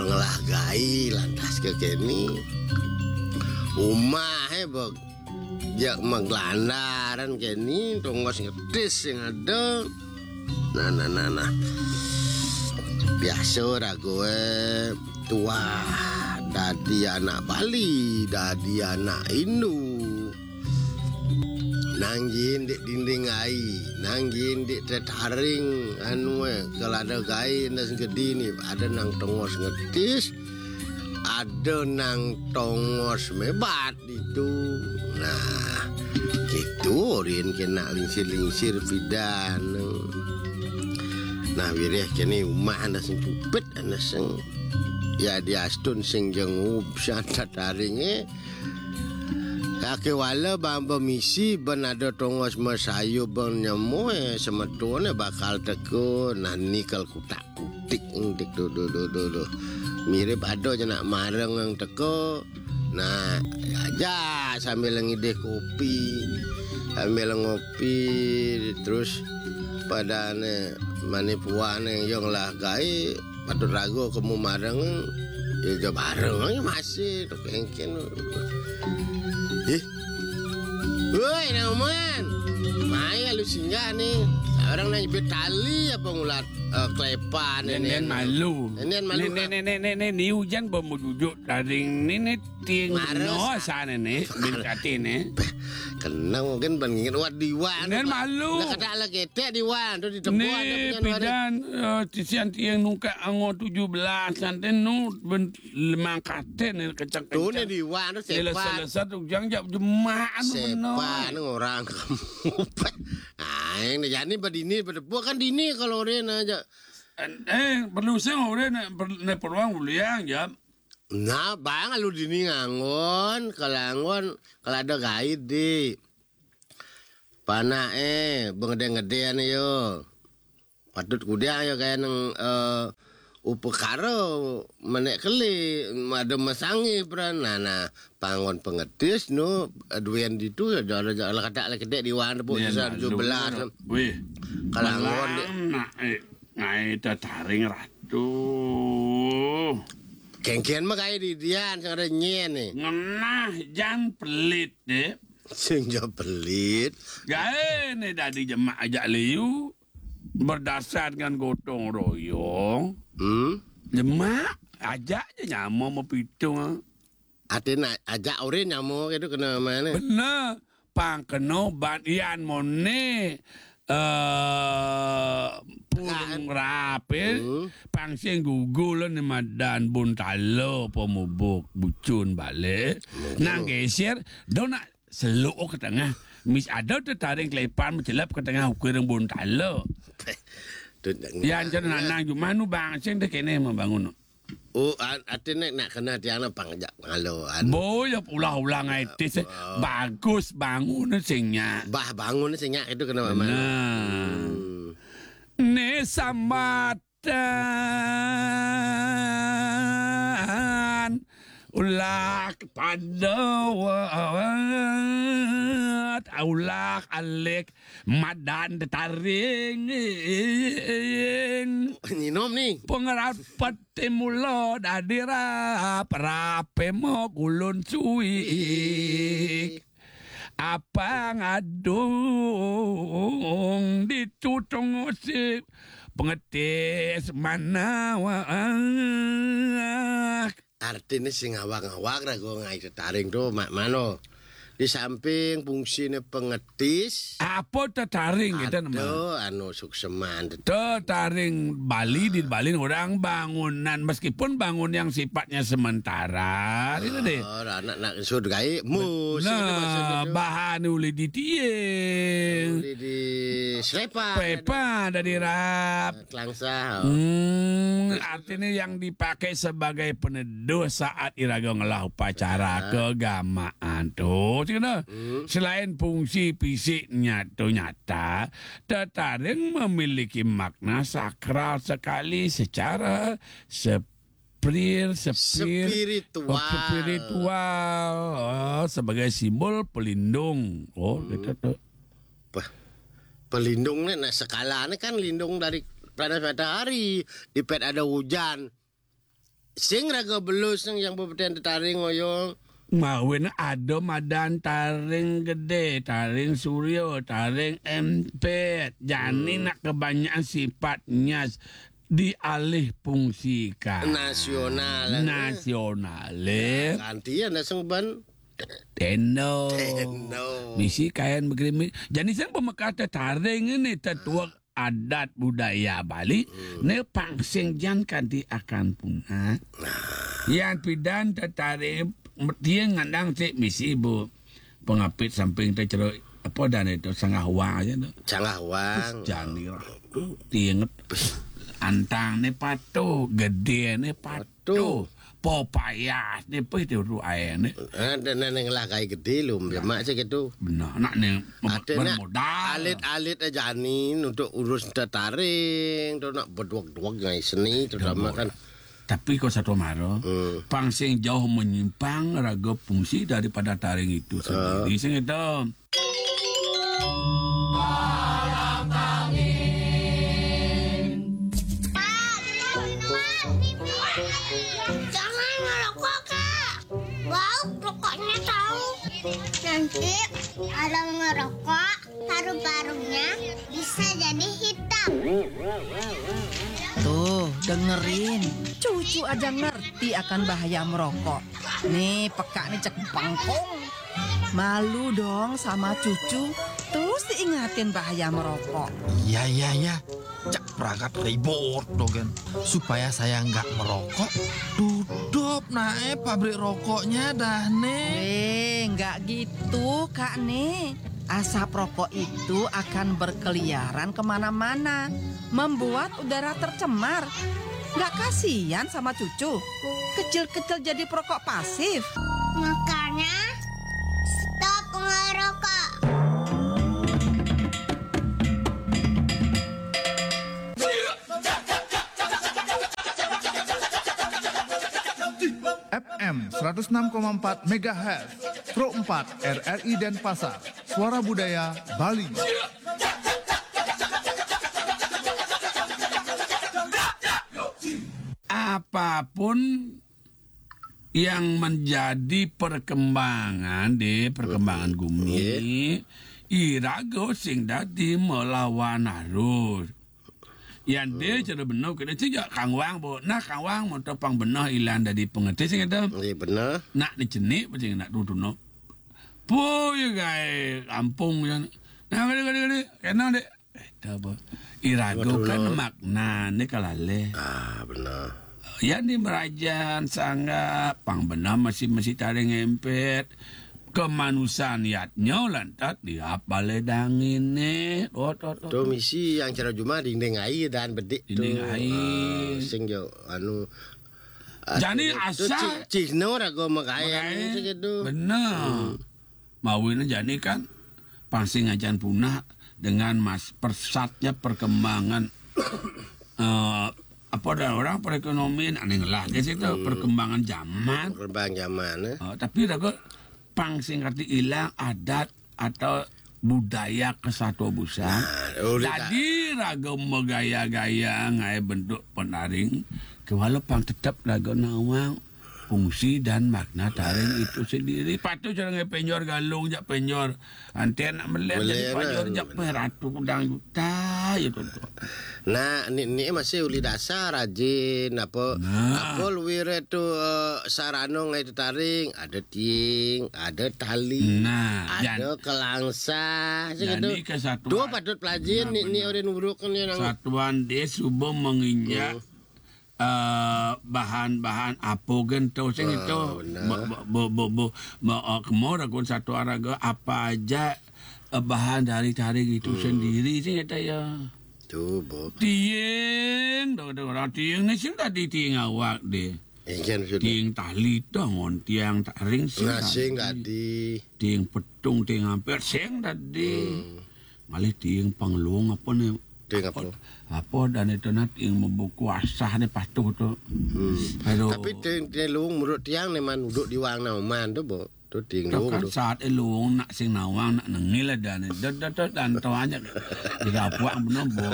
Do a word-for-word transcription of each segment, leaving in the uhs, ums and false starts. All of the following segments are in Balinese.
Ngelah gaé lantas ké kéné. Umahé bek jak maglandaran kéné, tongos ngetis sing ada. Nah, nah, nah, nah. Biasa ragoé tuah dadi anak Bali, dadi anak Hindu. Nanggihin dik dinding ai, nanggihin dik tetaring anué, kalau ada gaé ndas gedé nih, ada nang tongos ngetis, ada nang tongos mebat itu. Nah, gitu rin kena lingsir-lingsir pidan. Nah, wiréh kéné umah ana sing pupit, ana sing ya diastun sing jengub san tetaringé. Kaké wala bang bemisi ben ada tongos masayu bang nyemué semetoné bakal teka. Nah, nikel kutak kutik ngetik tuh, tuh, tuh, tuh, tuh. Mirip ada aja nak mareng yang teka. Nah, aja sambil ngidih kopi, sambil ngopi, terus padane mane puane yang lah gaé, patut rago kemu mareng, ya, ya bareng aja masih, tuh, kengken. Ih. Woi, Nauman. Maya lu singgah nih. Orang nang jepit tali apa ngulat, eh, klepan Nen, ini, nen anu. Malu. Nen, nen malu, Nen, ah. Nen, nen, nen, nen, ni hujan ba mau jujuk taring ni, ni ting Mares, no ah. Sana ni, bin kati ni. Kena mungkin ban ngingin wat diwan. Nen malu. Dah kata ala ketek diwan tu di tempat ada Ni punya nuan. Pidan, eh, tisian tiang nungka ango tujuh belas, santen nu ben lemang kate ni kecak-kecak. Tu ni diwan tu sepat. Selesa-selesa tu jang jap jemaah tu benar. Sepat ni orang kamu. Ah, yang dah jadi badini, badebuk kan dini kalau orang aja. Eh, perlu sing orang nak per-, nak peruang uliang jap. Nah, bang, lu dini nganggon, kalau nganggon, kalau ada gaid di. Panake, bengedeng-gedean yo. Patut kudiang yo kaya neng, eh, upekara menek keli, ada masangi peran. Nah, nah, pangon pengetis nu, eh, duwen ditu, ya, ada, ada, ada kata lagi kedek di wan, bu, Nen sisa malu. Tujuh belas. Wih. Kalau nganggon di- Malang nak, eh, ngai tetaring ratu. Kengkian mah kaya di dian, sing ada nyen ni. Ngenah jan pelit, deh. Sing ja pelit. Gaé ni dadi jemak ajak liu, berdasar dengan gotong royong. Hmm? Jemak, ajak je nyama mau pitung. Artinya ajak orang nyama gitu kena mana? Benar. Pang kena ban ian mone, eh, purung Kan. Rape, Hmm. Pang sing gugul ni madan bun tala pemubuk bucun balik. Betul. Nang geser, do nak seluk ke tengah. Mis ada tu taring kelepan mencelap ke tengah ukir bun tala. Tu nak Ya, ngan- ancan nanang cuma nu bang sing deh kene mau bangun. Oh, an-, artinya nak kena tiang nak pang jak ngalo, an. Boy, ya ulah-ulah ngai tis. Oh. Bagus bangun sing nya. Bah, bangun sing nya itu kena mama. Benar. Hmm. Ni sambatan ulah kepada wat, ulah alik madan tetaring. Nyinom ni. Pengerapet timula dadi rap, rape mo kulun suik. Apa ngadung ditu tongosik pengetis manawak. Artinya sing awak-awak rago ngai tetaring tu mak mano. Di samping fungsine pengetis. Apa tetaring kita nama? Ada anu sukseman. Tetaring Bali di Bali orang bangunan, meskipun bangun yang sifatnya sementara, gitu deh. Oh, anak nak sud gaib, mus, ini maksudnya Nah, tu. Bahan uli di tiang. Uli di selepa. Pepa dari rap. Kelangsa. Hmm, artinya yang dipakai sebagai peneduh saat iraga ngelah upacara Ah. keagamaan tu, cik kena. Hmm. Selain fungsi fisiknya tu nyata, tetaring memiliki makna sakral sekali secara sepir, sepir, Spiritual. Spiritual, oh, sebagai simbol pelindung. Oh, Hmm. gitu tu. Wah, pelindung ni nak sekala ni kan lindung dari panas matahari, dipet ada hujan. Sing raga belus sing yang bebeden tetaring ngoyong. Mawin ada madan taring gede, taring surya, taring empet. Jani nak kebanyakan sifat nyas dialih fungsikan. Nasional, eh. Nasional, eh. Gantian dah sing ban. Tendo. Tendo. Bisi kain begerimis. Jani sing pemekate taring ini tetuak adat budaya Bali, ne pang sing jan kanti akan punah. Yan pidan tetaring, tiang ngandang ti misi bu pengapit samping te cero apa dan itu sanggah wang aja tu. Sanggah wang. Terus jan ni lah. Tiang antang ne patuh, gede ne patuh. Tuh, popayah ni pih tu tu air ni. Eh, dan, dan yang lah kai gede lu, dia mak cak gitu. Benar, nak ni mem- Ada nak bermodal. Alit-alit aja ni untuk urus tetaring, tu nak berduak-duak ngai seni terutama kan. Tapi kau satu mara, hmm, pang sing jauh menyimpang raga fungsi daripada taring itu sendiri. Sing itu. Pak, beli minuman. Jangan ngerokok, Kak. Bau rokoknya tahu. Nanti kalau ngerokok, paru-parunya bisa jadi hitam. Tuh, dengerin. Cucu aja ngerti akan bahaya merokok. Nih, peka nih cek bangkong. Malu dong sama cucu, terus diingatin bahaya merokok. Iya, iya, iya. Cak pragat ribut dogen. Supaya saya nggak merokok, tutup nae pabrik rokoknya dah, Nek. Eh, nggak gitu, Kak Nek. Asap rokok itu akan berkeliaran kemana-mana, membuat udara tercemar. Nggak kasihan sama cucu? Kecil-kecil jadi perokok pasif. Makanya, stop ngerokok. F M seratus enam koma empat megahertz, Pro empat R R I Denpasar, Suara Budaya Bali. Apapun yang menjadi perkembangan di perkembangan gumi, iraga sing dadi melawan arus. Yan de cara beneh kena cija kangwang bo. Nah, kangwang moto pang beneh ilan dadi pengetis kata. Nggih, beneh. Nak dicenik pasti nak tutuno. Poi gae kampung yan. Nah, gede, gede, gede. Kena dek. Eta apa? Irago kan makna ni kalale. Ah, benar. Yan di merajan sangga pang beneh masih-masih taring empet. Kemanusan yatnya lantat di apale dangine. Oh, to, to, to. Misi yang cara juma dinding air dan bedik tu. Dinding air. Ah, sing jo anu. Jani asa cihno rago magayan segitu. Benar. Mawin jani kan pang sing ajan punah dengan mas pesatnya perkembangan eh, apa dah orang perekonomian aneh lah ke situ perkembangan zaman. Perkembangan zaman eh. Oh, tapi raga pang sing kati ilang adat atau budaya kesatwa busa. Nah, jadi raga megaya-gaya ngai bentuk penaring kewala pang tetap raga nawang fungsi dan makna taring itu sendiri. Patut cara ngai penjor galung jak penjor. Ante nak melet jadi penjor jak ratu kudang juta ya tu. Nah, ni ni masih uli dasar rajin apa nah. Apa luwir tu uh, sarano ngai tetaring, ada tiing, ada tali, nah, ada kelangsa, segitu. Dua patut pelajin ni ni orang uruk ni nang. Satuan dia subuh menginjak uh, bahan-bahan apa gento sing itu. Bo bo bo bo kemo ragun satu araga apa aja uh, bahan dari taring itu sendiri sing itu ya. Tu bo. Tiing, dong dong orang tiing ni sing tadi tiing awak deh. Tiing tali tu ngon tiang taring sing tadi. Tiing petung, tiing hampir sing tadi. Malih tiing panglung apa ni? Tiing apa? Apa dan itu nah tiing membuku asah ni patuh tu. Aduh. Tapi tiing, tiing lung menurut tiang ni man duduk di wang nauman tu bo. Tu tiing lung kan tu. Saat elung nak sing nawang nak nengil ada ni. Dot dot dot dan tu aja. Tidak puak benar bo.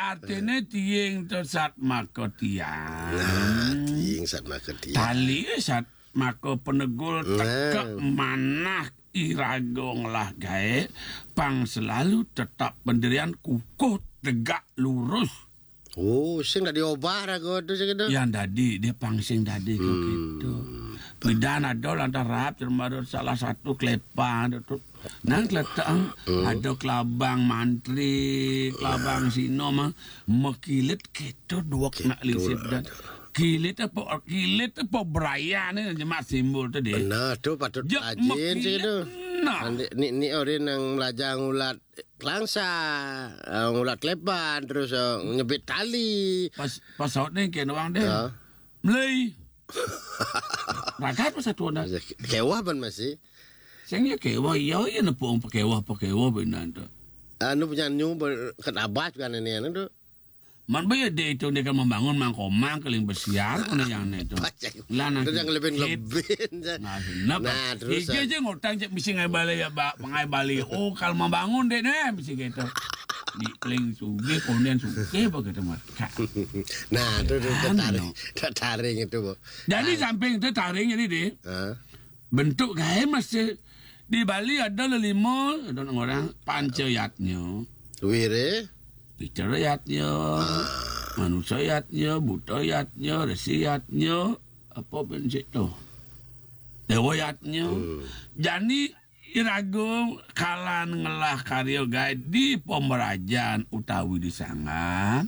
Artine tiing to satmaka tiang. Nah, tiing satmaka tiang. Tali satmaka penegul. Nah. Teka manah iraga ngelah gae, pang selalu tetap pendirian kukuh tegak lurus. Oh, sing dadi obah raga tu sing tu. Yang dadi, dia pang sing dadi ke. Hmm. Gitu. Bidan ada lantas rap termasuk salah satu kelepan tu. Nang keletak, hmm, ada kelabang mantri, kelabang sino mah, mekilit gitu duak nak lisip dan. Kilit apa, kilit apa beraya ni jemak simbol tu deh. Benar tu, patut rajin sih tu. Nah. Ni, ni orang yang belajar ngulat kelangsa, eh, ngulat kelepan, terus, eh, nyebit tali. Pas, pas saut ni kena orang deh. Ya. Melei. Ragat pas satu dah. Kewah ban masih. Sing ya kewah, iya, iya nepuk pakewah, pakewah benar tu. Anu punya nyu ber-, ket abah juga nenek anu tu. Man ba ya deh itu dia kan membangun mangkomang keling besiar kena yang ni tu. Lah nang yang lebih-lebih. Nah, terus, aja ngutang cek misi ngai balik ya, ba-, ngai balik. Oh, kalau membangun deh nih misi gitu. Di keling sugih, kemudian sugih apa kata mereka. Nah, tu, tu tertarik, tertarik itu, Bu. Jadi samping tu taring jadi deh. Bentuk gae masih di Bali ada lelima, ada orang panca yatnya. Wire. Bicara yatnya, manusia yatnya, buta yatnya, resi yatnya, apa pun situ. Dewa yatnya. Hmm. Jani iraga kalan ngelah karya gae di pemerajan utawi di sangah.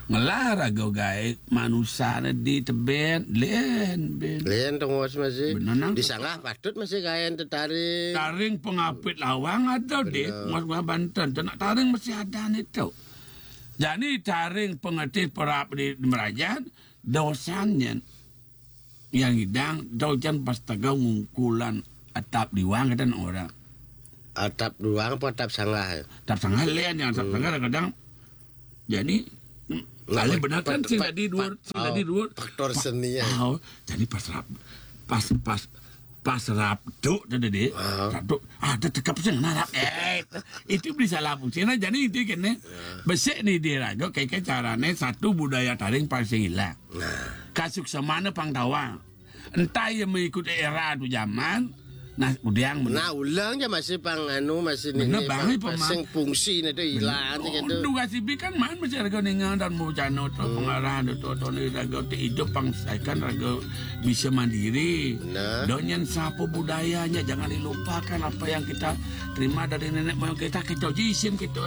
Ngelah raga gae manusane di teben, len, ben. Len tengos masih. Bener, nang. Di sangah patut masih gaen tetaring. Taring pengapit lawang ada, Dik. Bener. Mas Banten, tenak taring masih ada nih tu. Jadi taring pengetih perap di, di merajan, dosannya yang idang, dosan pas tegau ngungkulan atap diwang kata orang. Atap duang apa atap sangah? Atap sangah lain yang atap sangah kadang. Jadi, hmm, alih benar kan sing tadi dua, sing tadi dua. Faktor seni ya. Oh, jadi pas rap, pas, pas, pas rap tu tadi deh. Rap tu, ada tekap sing narap. Eh, itu beli salah fungsi. Nah, jadi itu kene. Besek ni dia raga, kayak carane satu budaya taring pang sing hilang. Nah. Kasuksemana pang tawang. Entah ia mengikuti era tu zaman. Nah, udiang. Nah, ulang je masih pang anu, masih ni, bang, pang, pang sing fungsi ni tu hilang je gitu. Untung kasih bi kan man masih raga ninga dan mau jano tu pengarah tu, tu, tu ni raga tu hidup pang saikan raga bisa mandiri. Benar. Donyan siapa budayanya, jangan dilupakan apa yang kita terima dari nenek moyang kita, kita jisim kita.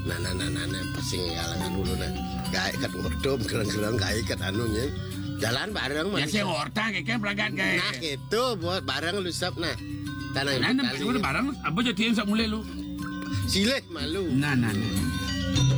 Nah, nah, nah, nah, nah, pasing kalangan dulu nah. Gae kat ngortom, kereng-kereng gae kat anunya. Jalan bareng. Ya, manusia. Sing orta kayak peragat gae. Nah, gitu, buat bareng lu sap nah. Tanah. Nah, bareng, apa jadi yang sak mulai lu? Silih malu. Nah, nah, nah.